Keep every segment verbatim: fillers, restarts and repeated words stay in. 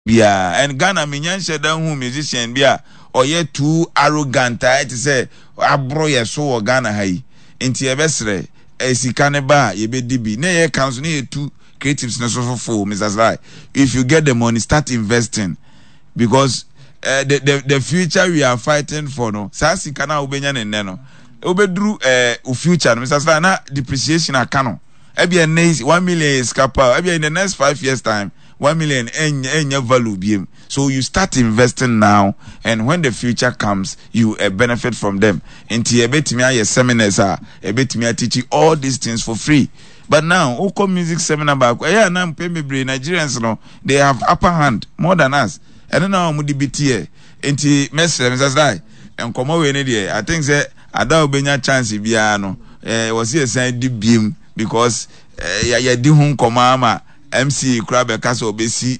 Biara and Ghana menya nhyɛ da hu musician bi a ɔyɛ too arrogant a ɛte sɛ aboro yɛ so wɔ Ghana ha yi. Nti yɛbɛsrɛ, sika ne ba a, yɛbɛdi bi na yɛka nso ne yɛtu creatives no so fofo. Mister Sly, if you get the money, start investing, because uh, the, the the future we are fighting for no, saa sika no a wobɛnya ne nnɛ no, wobɛduru uh, future no, Mister Sly, na depreciation aka no. Ebia nnɛ one million yɛ sika pa, ebia in the next five years time, one million ɛnyɛ ɛnyɛ value biem. So you start investing now, and when the future comes, you uh, benefit from them. Nti ɛbɛtumi ayɛ seminars a ɛbɛtumi ateach all these things for free. But now wokɔ music seminar baako, ɛyɛ anam mpɛn bebree Nigerians no, they have upper hand more than us. Ɛno na wɔn de bi teɛ. Nti mɛsrɛ, Mister Sly, nkɔmɔ wei ne deɛ, I think sɛ ada a wobɛnya chance biara no, ɛɛ wɔsi ɛsan di biem, because ɛɛ yɛdi ho nkɔmɔ ama M C A kura bɛka sɛ ɔbɛsi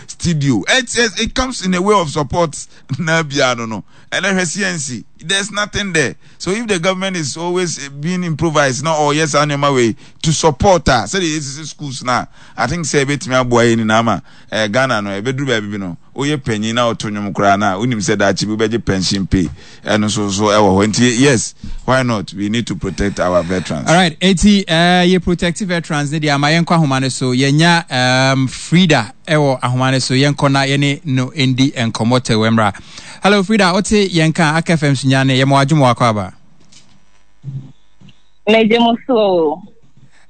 studio. it, it it comes in a way of support na bia no no ɛnɛ hwɛ C N C, there's nothing there. So if the government is always being improvised na ɔyɛ saa nneɛma wei to support a, sɛdeɛ yɛsisi schools na I think sɛ ebɛtumi aboa yɛ nyinaa ma ɛɛ Ghana no ɛbɛduru baabi bi no, woyɛ panyin na ɔto nnwom koraa na wonim sɛ daakye bi wobɛgye pension pay. Ɛno nso so ɛwɔ hɔ. Nti yes, why not? We need to protect our veterans. Alright, eti uh, yɛ protect veterans ne deɛ ama yɛnkɔ ahoma no so. Yɛnya um, Frida ɛwɔ ahoma no so. Yɛnkɔ na yɛne no ndi nkɔmmɔ tɛwɛ mmra. Hello Frida, wote yɛn ka Aka F M so nyane yɛma wadwom wakɔ aba. Megye mo so.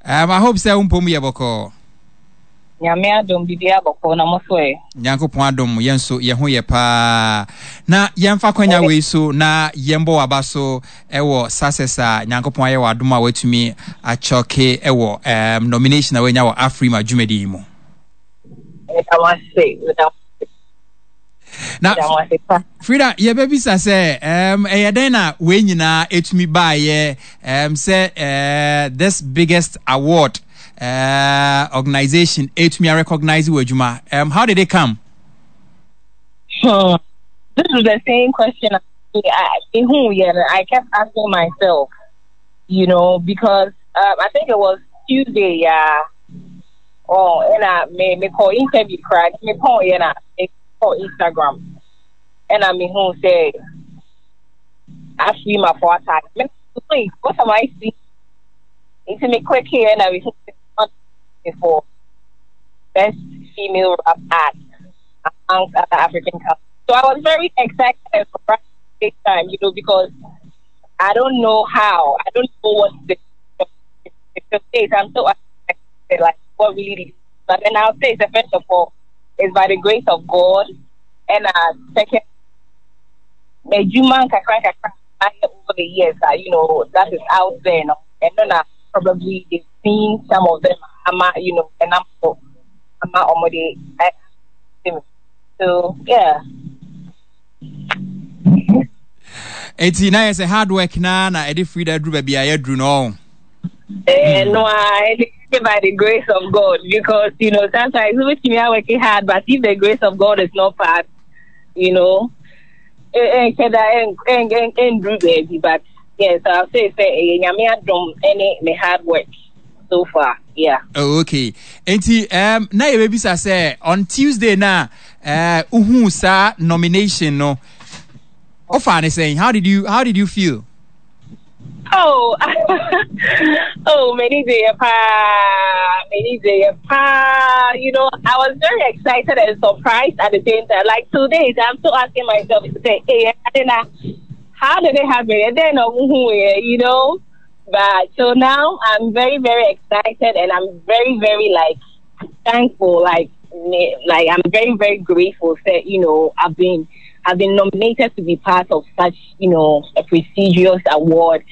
um, I hope sɛ wo mpom yɛ bɔkɔɔ. Nyame adom, biribi abɔkɔ na mo so ɛ? Nyankopɔn adom, yɛn nso yɛn ho yɛ paa. Na yɛmfa kwanya wei so na yɛmbɔ waba so ɛwɔ success a Nyankopɔn ayɛ wɔ adom a watumi akyɔke ɛwɔ um, nomination a wanya wɔ AFRIMA dwumadi yi mu. Meda mo ase, meda mo Na meda mo ase pa. Frida, yɛbɛbisa sɛ um, ɛyɛ dɛn na wei nyinaa ɛtumi baayɛ um, sɛ uh, this biggest award uh, organization ɛtumi recognize wɔ adwuma? um, how did it come? Hmm. This is the same question I, I, who, yeah, I kept asking myself, you know, because um, I think it was Tuesday, yeah. Oh, and I me me call interview crack, me call, yeah, me call Instagram, and I me who say AFRIMA for attack. Me, wait, what am I seeing? Nti me click here and I me for best female rap act amongst other African countries. So I was very excited and surprised at the same time, you know, because I don't know how, I don't know what the the state. I'm so excited, like what really did. But then I'll say, so first of all, it's by the grace of God, and uh, second, m'adwuma kakra kakra over the years, uh, you know, that is out there, no? And then uh, probably they've seen some of them, ama, you know, and I'm ama omode. So yeah. Eti na yɛ sɛ hard work na na ɛde Frida aduru baabi a yɛaduru no. Eh, no, I by the grace of God, because you know sometimes we are working hard, but if the grace of God is not part, you know, eh, eh, eh, eh, eh, baby. But yes, I'll say, say, eh, nyame adom any me hard work so far. Yeah. Oh, okay. Enti um, na yɛbɛbisa sɛ on Tuesday na uh, uhu saa nomination no, ɔfa ne sɛn? How did you how did you feel? Oh, oh, many day many day. You know, I was very excited and surprised at the same time. Like two days, I'm still asking myself, say, "Hey, I didn't how did it happen?" And then, you know, but so now I'm very, very excited and I'm very, very like thankful. Like, like I'm very, very grateful that you know I've been I've been nominated to be part of such, you know, a prestigious award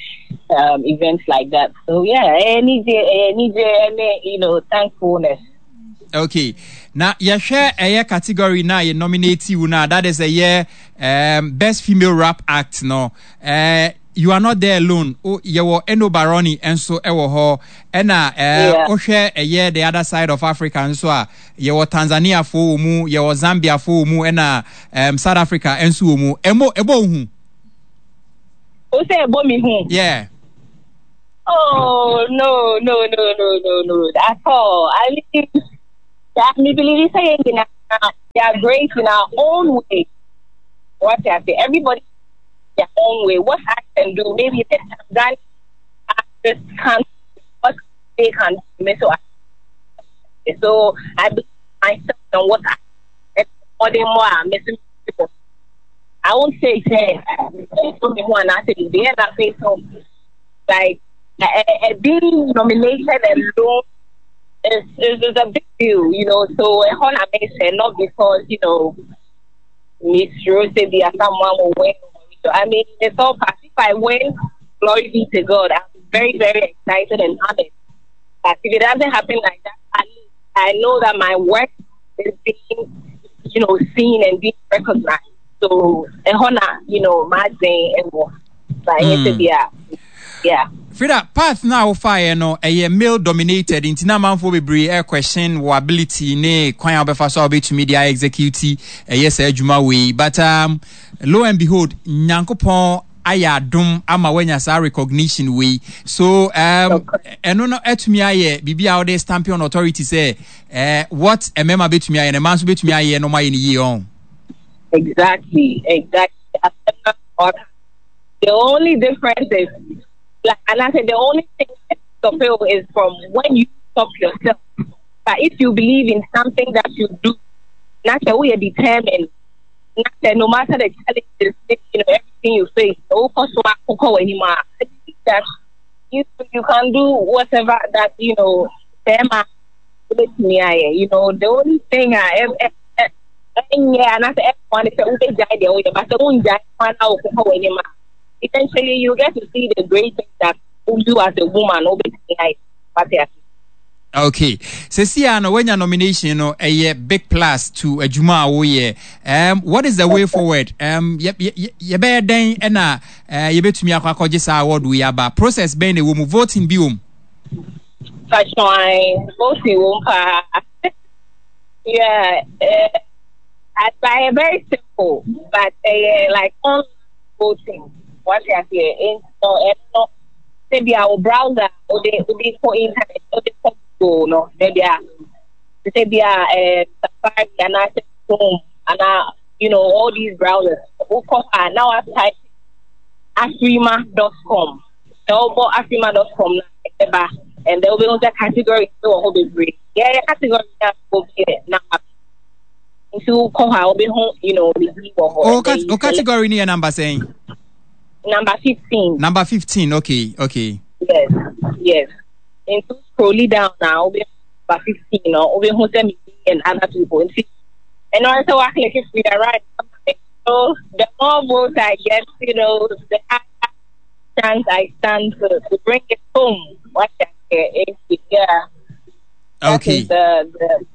um, events like that. So yeah, any day, any day, any you know, thankfulness. Okay. Na yɛhwɛ ɛyɛ category na yɛ nominate you na that is ɛyɛ um, best female rap act no, uh, you are not there alone. O yɛwɔ Eno Barony nso ɛwɔ hɔ, ɛna uh, wohwɛ ɛyɛ the other side of Africa nso a, yɛwɔ Tanzania fo wɔ mu, yɛwɔ Zambia fo wɔ mu, ɛna um, South Africa nso wɔ mu. Ɛmo ɛbɔ wo hu? O sɛ ɛbɔ mi hu? Yeah. Oh no no no no no no at all. I mean, me believe sɛ yɛn nyinaa We are great in our own way. What I say, everybody their own way. What I can do, maybe the Tanzanian artists can't, what they can do. So I, so I believe myself and what I more than more I'm missing people. I won't say say one I say they end up so like uh, uh, being nominated alone is, is is a big deal, you know. So a whole amazing, not because you know Miss Rose be someone will win. So I mean, it's all past. If I win, glory be to God. I'm very, very excited and honored. But if it doesn't happen like that, at least I know that my work is being, you know, seen and being recognized. So, a honor, you know, my day and what. But mm. yeah, yeah. Frida, path na wofaeɛ no ɛyɛ male dominated nti na amanfoɔ bebree ɛ question wɔ ability ne kwan a wobɛfa so a wobɛtumi de execute ɛyɛ saa adwuma wei but um, lo and behold nyankopɔn ayɛ adom ama woanya saa recognition wei so um, ɛno no atumi ayɛ biribi a wode stamp on authority sɛ uh, what mmarima bɛtumi ayɛ no mmaa nso bɛtumi ayɛ no ɔmayɛ no yie ɔn Exactly, exactly. The only difference is, like, and I said the only thing that stop is from when you stop yourself. But if you believe in something that you do, not that we are determined, not that no matter the challenges, you know, everything you face, that you you can do whatever that you know. You know, the only thing I yeah, and I said everyone is eventually you get to see the great things that you as a woman okay seesei no when your nomination no a big plus to adwuma a woyɛ um what is the way forward um yɛbɛyɛ dɛn ɛna yɛbɛtumi akɔ akɔgye saa award wei aba process bɛn na ɛwɔ mu voting bi wɔ mu voting wɔ mu paa yeah uh, I, very simple but uh, like online voting what you say in so no maybe our browser or the or the for internet or the for Google no maybe a maybe a uh, Safari and I Chrome and uh, you know all these browsers now I type afrima dot com so afrima dot com and there will be other category so will be free yeah category will be now nti wokɔ hɔ a wobɛhu you know oh, cat- oh category ni yɛ number sɛn number fifteen number fifteen okay okay yes yes nti scroll down now wobɛhu number fifteen no wobɛhu sɛ me and other people nti ɛno ara sɛ woaclick free right so the more votes I get you know the higher chance I stand to, to bring it home what yeah okay. the,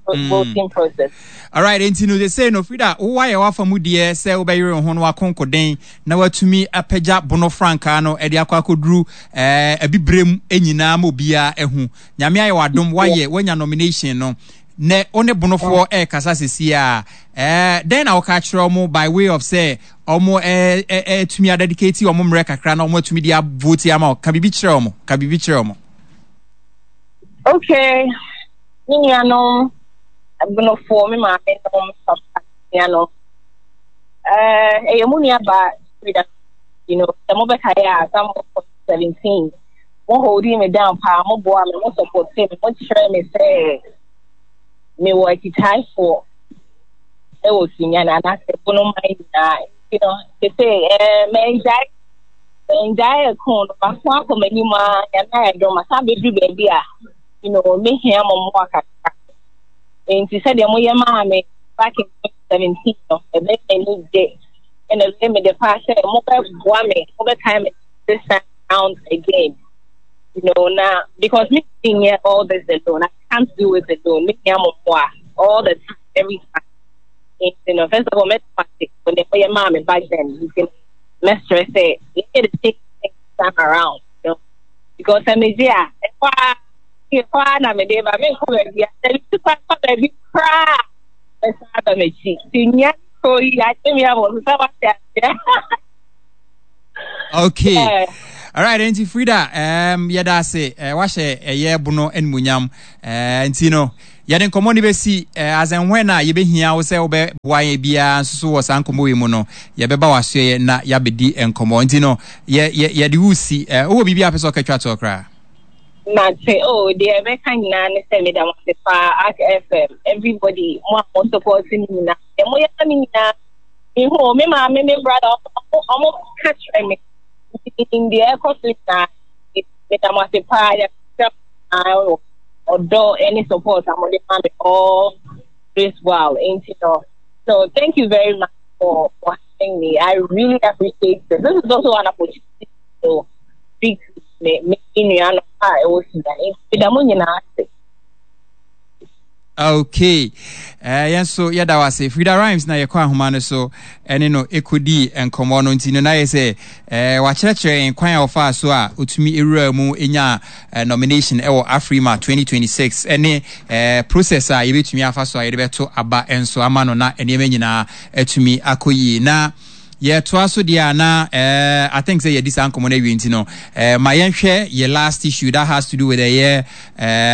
the mm. voting process. All right, nti no they say no Frida, wo ayɛ wafa mu deɛ sɛ wobɛyere wo ho no wakonkoden na watumi apagya bono frankaa no ɛde akɔ akɔduru ɛɛ abibirem nyinaa ma obiara ɛho nyame ayɛ wadom wayɛ wanya nomination no ne wo ne bonofoɔ ɛrekasa sisi a ɛɛ dɛn na wɔka kyerɛ ɔmo by way of sɛ ɔmo ɛɛ ɛɛtumi adedicate ɔmo mmerɛ kakra na ɔmo atumi de avote ama ka biribi kyerɛ ɔmo ka biribi kyerɛ ɔmo. Okay, me nuanom abonofoɔ me maame nom papa nuanom ɛɛ ɛyɛ mu nua ba Frida you know sɛ mobɛkaeɛ a some seventeen mo holding me down paa mo boa me mo support me mo kyerɛ me sɛ mewɔ akyitaafoɔ ɛwɔ Sunyani anaasɛ bonoman nyinaa you know sese ɛɛ mɛngyae mɛngyae ɛko no mako akɔ m'anim a nyame ayɛ dɔm asan bɛduru baabi a you know mehia mo mmoa kakra nti sɛdeɛ moyɛ maa me back in twenty seventeen no ɛbɛyɛ m'ani gye ɛna ɛbɛyɛ me de paa sɛ mobɛboa me mobɛkae me this time round again you know na because me nyɛ all this alone I can't do it alone mehia mo mmoa all the time every time you know first of all mɛtɔ when they moyɛ maa me back then nti mɛsrɛ sɛ yɛyɛ the same thing this time around you know because sɛ megye a ɛhɔ a ɛhɔ a na mede ba menkɔ baabi a sɛ metu kwan kɔ baabi koraa mɛsan aba m'akyi nti nya kuro yi akyɛ me abɔ so sɛ wate aseɛ okay yeah. All right, nti Frida, um, yɛda ase uh, wahyɛ ɛyɛ bono animuonyam uh, nti no Yɛde nkɔmmɔ no bɛsi eh, as and when a yɛbɛhia wo sɛ wobɛboa yɛn biara nso so wɔ saa nkɔmmɔ yi mu no, yɛbɛba w'asoɛeɛ na yɛabɛdi nkɔmmɔ. Nti no, yɛ, yɛ, yɛde wo si. Eh, wowɔ biribi a wopɛ sɛ ɔka twa toɔ koraa? Mate, oh, deɛ ɛbɛka nyinaa ne sɛ meda mo ase paa, Ark F M, everybody, mo a mo support me nyinaa, deɛ moyɛ ma me nyinaa, mehu o, me maame, me brother, ɔmo ɔmo ka kyerɛ me, nti menim deɛ ɛkɔ so nyinaa, meda mo ase paa, yɛsrɛ mo ɔdɔ ne support a mode ma me all this while, nti no, so thank you very much for, for having me. I really appreciate this. This is also an opportunity to speak to me me nua no a ɛwɔ Sudan. Nti meda mo nyinaa ase. Okay. Eh, yɛn nso yɛda wo ase. Frida Rhymes na yɛkɔ ahoma no so ɛne no ɛkɔdii nkɔmmɔ no, nti no na yɛ sɛ eh, wakyerɛkyerɛ yɛn kwan a ɔfaa so a ɔtumi ɛwura mu ɛnya eh, nomination ɛwɔ Afrima twenty twenty-six ɛne eh, process a yɛbɛtumi afa so a yɛde bɛto aba nso ama no na nneɛma nyinaa atumi akɔ yie. Na yɛtoa so deɛ a na eh, I think sɛ yɛdi saa nkɔmmɔ no awie, nti no eh, ma yɛnhwɛ yɛ last issue that has to do with ɛyɛ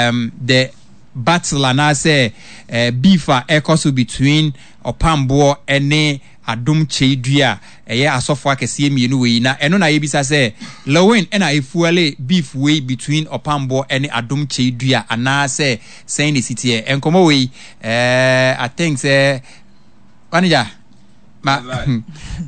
um, the battle anaasɛ eh, beef a ɛkɔ so between Ɔpamboɔ ne Adom Kyei-Dua, ɛyɛ asɔfo akɛseɛ mmienu wei. Na ɛno na yɛbisa sɛ Lilwin ɛna efuel beef wei between Ɔpamboɔ ne Adom Kyei-Dua anaasɛ sɛn na esi teɛ? Nkɔmmɔ wei, eh, I think sɛ manager ma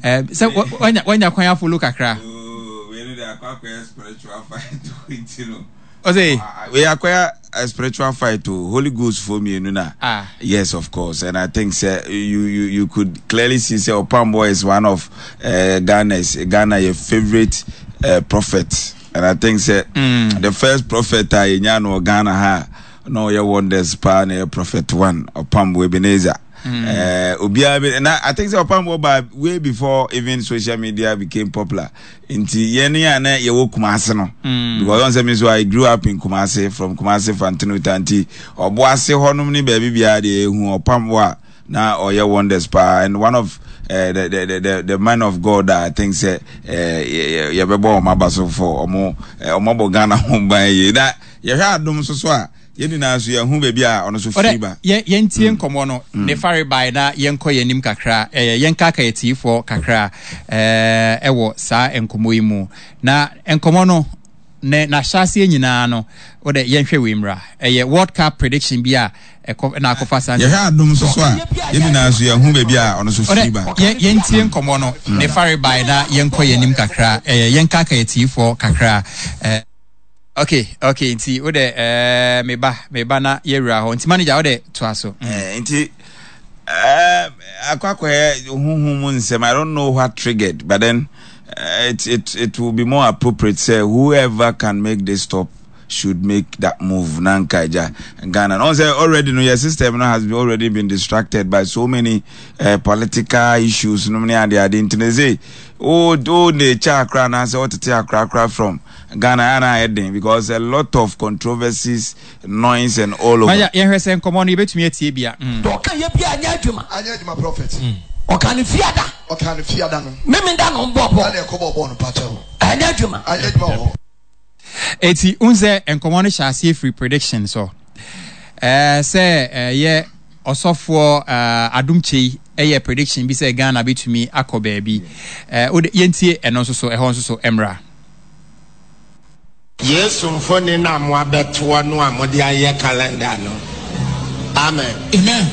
eh, sɛ wanya wanya kwan afollow kakra. Oh, wei no de akɔ akɔyɛ spiritual fight nti no. Ɔsɛ wei akɔyɛ a spiritual fight o, Holy Ghost fo mmienu na. Ah. Yes, of course, and I think sɛ you you you could clearly see sɛ Opambour is one of uh, Ghana's Ghana your favorite uh, prophet, and I think sɛ mm. the first prophet a yɛnya no wɔ Ghana ha na ɔyɛ wonders paa na yɛ Prophet One Opambour Ebenezer. Mm. Uh, obiara bi na I think sɛ Opambour ba way before even social media became popular, nti yɛn a na yɛwɔ Kumase no mm. because ɔn sɛ mi nso I grew up in Kumase, from Kumase Fantenuta, nti Ɔboase hɔnom ne baabi biara deɛ ehu Ɔpambour a na ɔyɛ wonders paa and one of uh, the, the, the, the man of God a I think sɛ uh, yɛbɛbɔ wɔn aba so for ɔmo ɔmo abɔ Ghana ho ban yie. Na yɛhwɛ Adom nso so a, yɛn nyinaa nso yɛn ho baabi a ɔno nso firi ba. Yɛntie nkɔmmɔ no ne fare bae na yɛnkɔ yɛn anim kakra, ɛyɛ yɛnkaka yɛtiefoɔ kakra ɛwɔ saa nkɔmmɔ yi mu. Na nkɔmmɔ no ne n'ahyɛaseɛ nyinaa no, wode yɛnhwɛ wei mmra, ɛyɛ World Cup prediction bi a ɛkɔ na akɔfa saa. Yɛhwɛ Adom nso so a, yɛn nyinaa nso yɛn ho baabi a ɔno nso firi ba. Yɛntie nkɔmmɔ no ne fare bae na yɛnkɔ yɛn anim kakra, ɛyɛ yɛnkaka yɛtiefoɔ kakra. Okay, okay, nti wo de ɛɛ meba meba na yɛwura hɔ, nti manager, wo de toa so. Mm. Nti ɛɛ akɔ akɔyɛ huhum mu nsɛm. I don't know what triggered, but then uh, it it it will be more appropriate sɛ whoever can make this stop should make that move. Na nka agya Ghana no sɛ already no your system no has been already been distracted by so many uh, political issues no ne ade ade, nti ne sɛ o o ne kyɛ akora anaasɛ ɔtete akora akora from Ghana ana ayɛ den because a lot of controversies, noise and all over. Maya, yɛhwɛ sɛ nkɔmmɔ no yɛbɛtumi atie bia. Mm. Ɔka yɛ bia anyɛ adwuma. Anyɛ adwuma, prophet. Ɔka ne fiada. Ɔka ne fiada no. Mímí da no bɔ bɔ. Ɛna ɛkɔ bɔ bɔɔl no pakyɛw. Anyɛ adwuma. Anyɛ adwuma wɔ hɔ. Eti n sɛ nkɔmmɔ no hyɛ aseɛ firi prediction so ɛɛ sɛ ɛyɛ ɔsɔfoɔ ɛɛ Adom Kyei ɛyɛ prediction bi sɛ Ghana bɛtumi akɔ baabi. ɛɛ o de yɛntie ɛno nso so, ɛhɔ nso so mmra. Yesu mfoni no a moabɛtoɔ no a mode ayɛ calendar no, amen. Amen.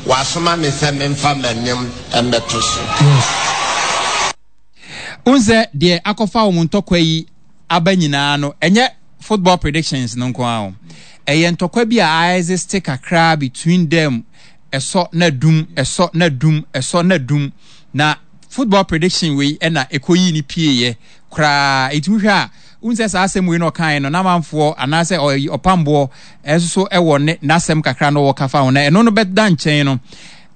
Wasoma me sɛ memfa m'anim mmɛto so. N sɛ deɛ akɔfa wɔn ntɔkwa yi aba nyinaa no, ɛnyɛ football predictions no nko ara o, ɛyɛ ntɔkwa bi a aexist kakra between them, ɛsɔ na dum, ɛsɔ na dum, ɛsɔ na dum, na football prediction wei ɛna ɛkɔyii ne pieeɛ koraa. Ɛti wohwɛ a, wohu sɛ saa asɛm wei na ɔkaeɛ no, n'amanfoɔ anaasɛ Ɔpamboɔ ɛnso so ɛwɔ ne n'asɛm kakra no wɔka fa ho, na ɛno no bɛda nkyɛn no,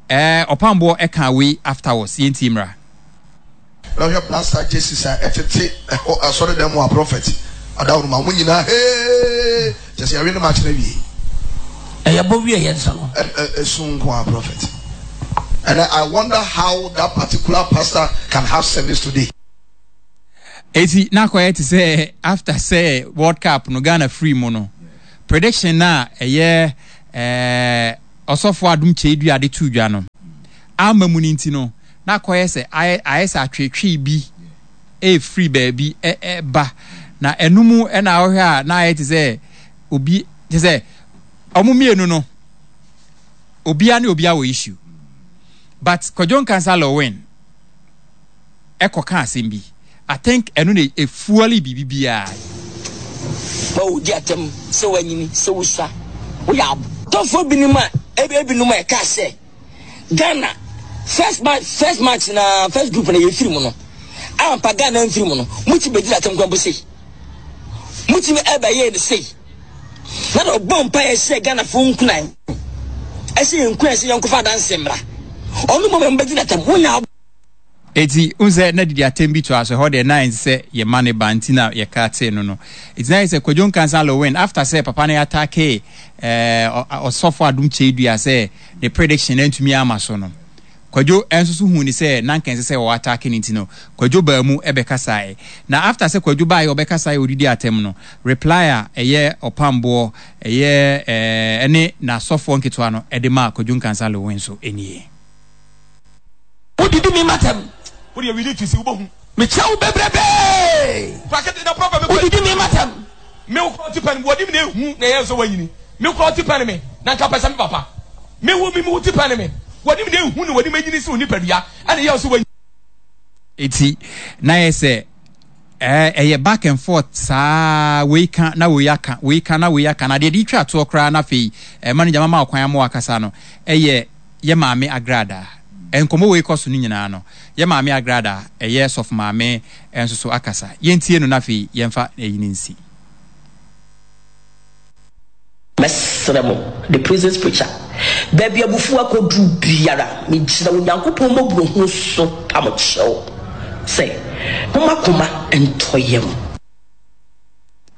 ɛɛ Ɔpamboɔ ɛka wei afterwards. Yɛntie mmra. Na hwɛ Black jerseys a ɛtete ɛhɔ asɔredan mu a, prophet adaworo ma wɔn nyinaa hee kyɛ sɛ yɛwe ne match no awie. Ɛyɛ bɔ wie yɛn nsa no. Ɛsu nko a, prophet, and I wonder how that particular pastor can have service today. Eti na akɔyɛ te sɛ after sɛ World Cup no Ghana free mu no, prediction na ɛyɛ ɛɛ ɔsɔfo Adom Kyei-Duah de too dwa no amma mu no nti no, na akɔyɛ sɛ ayɛ ayɛ sɛ atweetwee bi ɛrefiri baabi ɛba, na ɛno mu ɛna wohwɛ a na ayɛ te sɛ obi te sɛ ɔmo mmienu no obia ne obia wɔ issue, but Kwadwo Nkansah Lilwin ɛkɔka asɛm bi. I think ɛno na efuali biribi biara. Ma wodi atɛm sɛ woanyini, sɛ wosua, woyɛ ab. Tɔfoɔ binom a ebinom a ɛkaa sɛ Ghana first match first match na first group na yɛfiri mu no, ampa Ghana amfiri mu no, motumi bɛdi atɛm kwan mpo sei, motumi ɛbɛyɛ no sei, na na ɔbɔ mpaeɛ hyɛ Ghanafoɔ nkunan, ɛhyɛ yɛn nkunan sɛ yɛnkɔfa adanse mmra, ɔno mmom bɛdi atɛm, wonya ab. Eti n sɛ na didi atɛm bi to aso hɔ deɛ na ɛnsɛ sɛ yɛma ne ba nti na yɛka tee no no. Eti na yɛ sɛ Kwadwo Nkansah Lilwin after sɛ papa no attack ɛɛ ɔsɔfo Adom Kyei-Duah sɛ ne prediction antumi ama so no, Kwadwo nso so hu ne sɛ na nka ɛnsɛ sɛ ɔwɔ attack no nti no, Kwadwo baa mu ɛbɛkasaeɛ. Na after sɛ Kwadwo baeɛ ɔbɛkasaeɛ ɔdidi atɛm no, reply a ɛyɛ ɔpamboɔ ɛyɛ ɛɛ ɛne n'asɔfoɔ nketewa no ɛde maa Kwadwo Nkansah Lilwin nso nie. Wodidi mi matam. Wo deɛ wili twisi wobɛhu. Mekyɛ wo bebrebee. Prakete na prɔfɛ me kɔ. Wodidi mi matam. Me wo kura ɔte pɛn wɔde mi na ehu na ɛyɛ sɛ wanyini. Me kura ɔte pɛn me na nka pɛ sɛ me papa. Me wo me wo te pɛn me wɔde mi na ehu na wɔde mi anyini sɛ onipadua ɛna ɛyɛ sɛ wanyini. Eti na yɛ sɛ ɛyɛ back and forth saa, wei ka na wei aka, wei ka na wei aka, na deɛ de twa toɔ koraa na afei ɛma no gyama ma ɔkwan ama wakasa no ɛyɛ yɛ maame Agrada. Nkɔmmɔ wei kɔ so no nyinaa no, yɛ maame Agrada ɛyɛ sɔfo maame nso so akasa. Yɛntie no na afei yɛmfa ɛyi no nsi. Mɛsrɛ mo, The Prison Preacher, baabi abufuo akɔduru biara, megyina Onyankopɔn mmɔborɔhunu so pa mo kyɛw sɛ, momma koma ntɔ yam.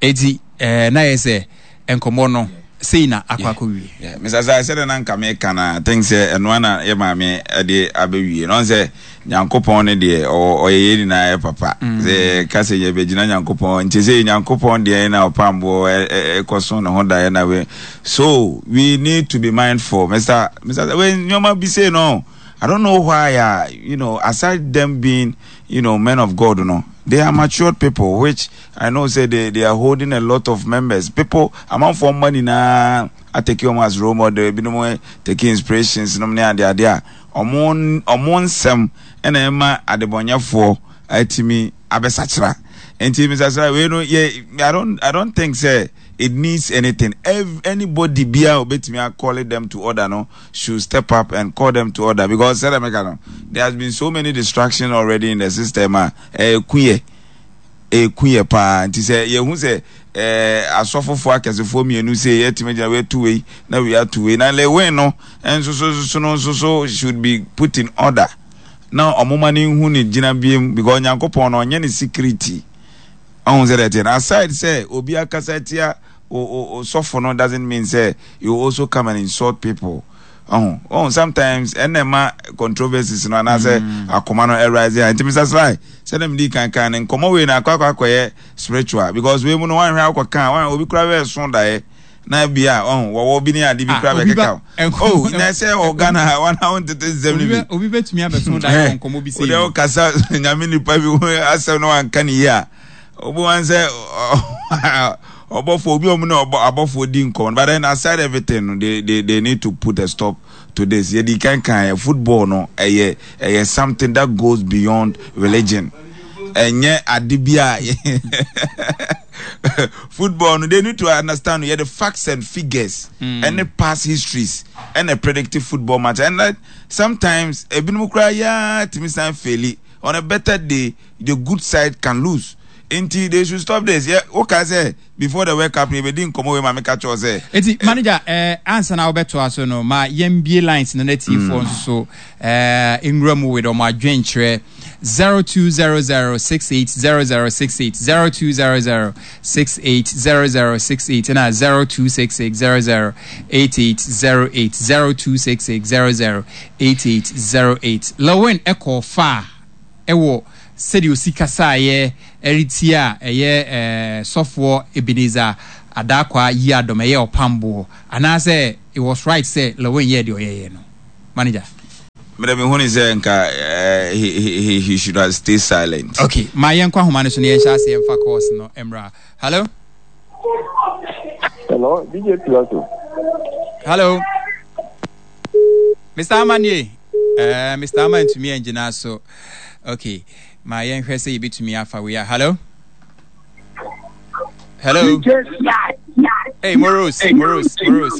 Enti na ɛyɛ sɛ nkɔmmɔ no sei na akɔ akɔwie. Yeah, Mister Sai, sɛdeɛ na nka meka no, I think sɛ ɛno ara na yɛ maame de abɛwie. Na ɔn sɛ Nyankopɔn no deɛ ɔyɛ yɛn nyinaa yɛ papa. Mm. Sɛ yɛka sɛ yɛbɛgyina Nyankopɔn, nti sɛ Nyankopɔn deɛ na ɔpamboɔ ɛkɔso ne ho daeɛ na we. So we need to be mindful. Mister Mister we nneɛma bi sei no, I don't know why, uh, you know, aside them being, you know, men of God, no, they are matured people, which I know say they, they are holding a lot of members. People, amanfoɔ mma nyinaa atake wɔn as role model, ebinom take inspirations nom ne ade ade a, ɔmo ɔmo nsɛm ɛna ɛma adebɔnyɛfoɔ atumi abɛsakyera. Nti Mister Sra, wei no yɛ, I don't I don't think say it needs anything. Every, anybody bia obetumi call them to order no should step up and call them to order because sɛdeɛ meka no, there has been so many distractions already in the system a ɛyɛ kuyɛ ɛku yɛ paa. Nti sɛ yɛhu sɛ ɛɛ asɔfofoɔ akɛsefoɔ mmienu sɛ yɛtumi gyina wei ato wei na wei ato wei na Lewin no nso so so no nso so should be put in order na ɔmo ma ne nhu ne gyina biem because Nyankopɔn no ɔnyɛ ne security. Ɔho sɛ dɛteɛ no, aside sɛ obi akasa tia o sɔfo no doesn't mean sɛ you also come and insult people. Ɔho ɔho sometimes ɛna ɛma controversies no anaasɛ mm. akoma no arise ha. Nti Mister Sly, sɛdeɛ medi kan kan no, nkɔmmɔ wei no akɔ akɔ akɔyɛ spiritual because wei mu no wanhwɛ akɔ kan wanhwɛ obi kora bɛɛ so daeɛ na bi a ɔho wɔwɔ bi ne ade bi kora bɛkeka o. Oh, na ɛsɛ wɔ Ghana ha wana wo ntete nsɛm no bi obi bɛtumi abɛso daeɛ wɔ nkɔmmɔ bi sɛ wode wokasa nyame nipa bi ho asɛm no wanka ne yie a, obi wan sɛ ɔbɔfoɔ obi ɔmo ne ɔbɔ abɔfoɔ di nkɔmɔ. But then aside everything no, they they they need to put a stop to this. Yɛdi kan kan yɛ football no, ɛyɛ ɛyɛ something that goes beyond religion. Ɛnyɛ ade bi a football no, they need to understand yɛ the facts and figures ɛne mm. past histories ɛna predictive football match, and that sometimes ebinom koraa yaa tumi san faili on a better day, the good side can lose. Nti they should stop this. Yɛ woka sɛ before the World Cup yɛbɛdi nkɔmmɔ wei ma meka kyerɛw sɛ Eti manager, eh, ansa na wobɛtoa so no, ma yɛmbie lines no na tiefoɔ nso so eh, nwura mu with ɔmo adwenkyerɛ zero two zero zero six eight zero zero six eight, zero two zero zero six eight zero zero six eight, ɛna zero two six six zero zero eight eight zero eight, zero two six six zero zero eight eight zero eight. Lilwin ɛkɔɔ fa a ɛwɔ sɛdeɛ osi kasaeɛ ɛretie a ɛyɛ ɛɛ sɔfoɔ Ebenezer Adarkwa Yiadom, ɛyɛ ɔpamboɔ anaasɛ It was right sɛ Lilwin yɛɛ deɛ ɔyɛeɛ no. Manager. Mede me hu ne sɛ nka eh, he, he, he should have stay silent. Okay, ma yɛnkɔ ahoma no so na yɛnhyɛ aseɛ mfa course no mmra. Hello? Hello, D J Pilato. Hello. Mister Amanie. Uh, Mister Ama ntumi angyina so. Okay, ma yɛnhwɛ sɛ yɛbɛtumi afa wei a. Hello? Hello? Hey, Moros, Moros, Moros.